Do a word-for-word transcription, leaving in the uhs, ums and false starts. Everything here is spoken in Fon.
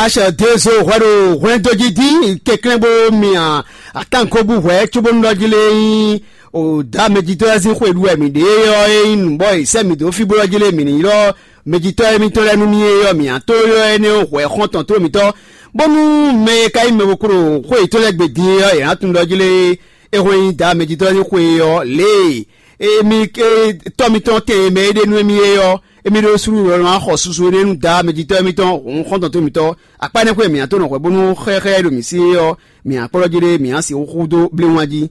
Aṣɔ Dezo hwɛ ɖo hwlɛndójí dín kɛnklɛ́n bó mia atánko bú hwɛ cóbónú ɖɔ jí lé nyí o dá mɛjitɔ́ lɛ́ɛ sín xwe ɖu wɛ mǐ ɖe ɔ́, é nyí nǔ bɔ è sɛ́ mǐ dó fí bó ɖɔ jí lé mǐ ní ylɔ́ mɛjitɔ́ émítɔn lɛ́ɛ nú mì é ɔ́, mǐ ná tó ylɔ́ énɛ́ ɔ́ hwɛ xɔ́ntɔn tó mǐtɔn, bónú mɛ e ka nyí mɛvokúɖo xwé yětɔn lɛ́ɛ gbe din é ɔ́, è nǎ tunwun ɖɔ jí lé é hɔn nyí dá mɛjitɔ́ lɛ́ɛ sín xwe ɔ́ lě e Emi ke tɔ́ mitɔn tɛn e mɛ e ɖe nú émí é ɔ́, émí ɖó slú lɔ ná xɔ susu énɛ́ nú Daá mɛjitɔ́ émítɔn hǔn xɔ́ntɔn tó mitɔn. Akpá énɛ́ xwé mǐ ná tó nɔ hwɛ bónú xɛxɛ́ e ɖo mǐ sí é ɔ́, mǐ ná kplɔ́ jí ɖé, mǐ ná sixú xú dó bléwún jí.